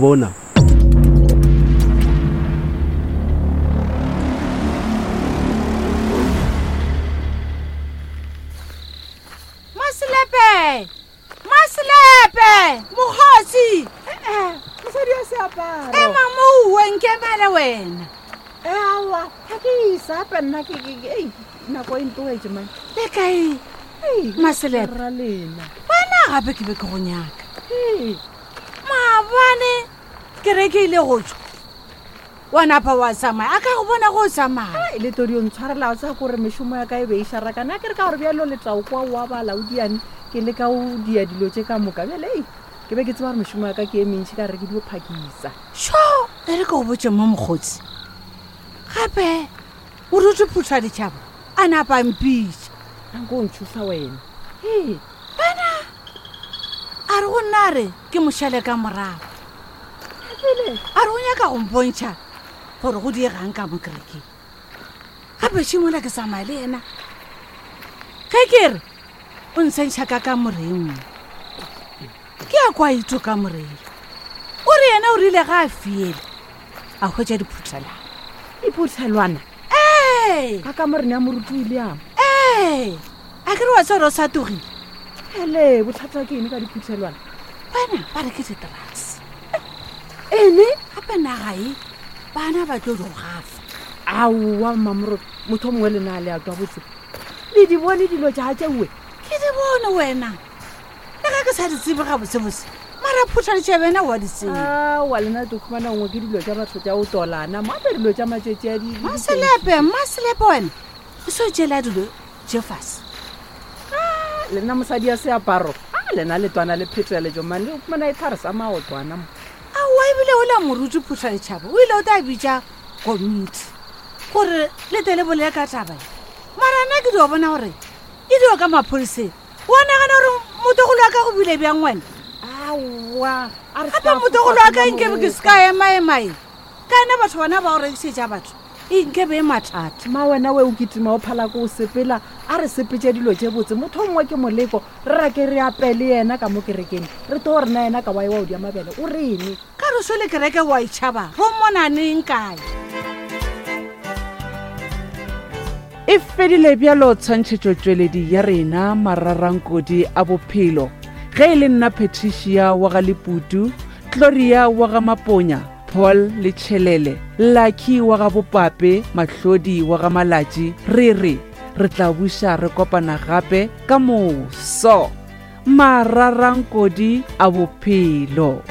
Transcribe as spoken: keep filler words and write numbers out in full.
Bona. Maselepe! Maselepe! Mokgosi! Eh, mosadi ya seaparo. E mamouwe nkemele wena. Eh, aowa, ga ke isa gape nna ke ke- ke- ei, nako e ntoetse mane. Le kae? Ei, Maselepe. rra lena. Wena gape ke be ke go nyaka. Ee, Maabane kereke ile go tswa. Wa napa wa tsamaya. A ka go bona go o tsamaya. ai, le todi o ntshwarela o tsaya kore mešomo ya ka e be e šarakana a ke re ka gore bjalo letlao kwa oa balaodiane ke le ka o dia dilo tše ka moka bjale ei ke be ke tseba gore mešomo ya ka ke e mentšhi ka re ke dio phakisa Sho, e re ke go botse mo mokgotsi. Gape o rute phutha ditšhaba a napa a mpitša. anko o ntšhosa wena ee A re go nna a re ke mošale ka morago. pele A re o nyaka go mpontšha gore go diegang ka mo kerekeng. Gape šimola ke tsamaya le yena. Ge ke re o ntshentšha ka kamoreng nngwe. Ke ya kwa ito kamoreng. O re yena o rile ga a fiele a hwetša diphuthelwana. diphuthelwana Ee, ka kamoreng ya moruti william ee, a ke re wa tseba gore o sa togile. ele bothata ke eng ka diphuthelwana Wena ba re ke di-drugs. ene Gape naga e bana ba tlo di go gafa. aowa mmamoroto motho o mongwe le na le atwa botse le di bone dilo tša tšeue Ke di bone wena. Le ga ke sa di tsebe gabotsebotse mara phutha ditšhaba ena wa di tseba. aowa lena to khumana nngwe ke dilo tša batho tša o tolana moape dilo tša matšatši a di- di- Maselepe, Maselepe wena o se o tšela dilo tše fase. lena mosadi ya seaparo a lena le twana le pheteletšo mane le khumana e thare sa maotwana mo Aowa ebile o la moruti phutha ditšhaba o ile o tla bitša komiti gore le tle le bolele ka taba e. Mara nna ke dio bona gore e dio ka maphodiseng. Wa nagana gore motogolo wa ka go bile bjang wena? aowa a re Gape ska motogolo wa ka fofa nkebe ke se ka emaema e. Ka ena batho bona ba o rekišetša batho e nkebe e mathata. ma wena we o kitima o phala ko o sepela a re sepetse dilo tše botse motho o mongwe ke moleko re rake re apele yena ka mo kerekeng re to rena yena ka wae wa o dia mabele o rene Ka re so le kereke wa itšhaba ro mona neng kae? E fedile bjalo tshwantšhetšotšweledi ya rena mararankodi a bophelo ge e le nna Patricia wa ga Leputu, Gloria wa ga Maponya, Paul le Tšhelele, Lucky wa ga Bopape, Mahlodi wa ga Malatši, re re re tla buša re kopana gape ka moso. Mararankodi a bophelo.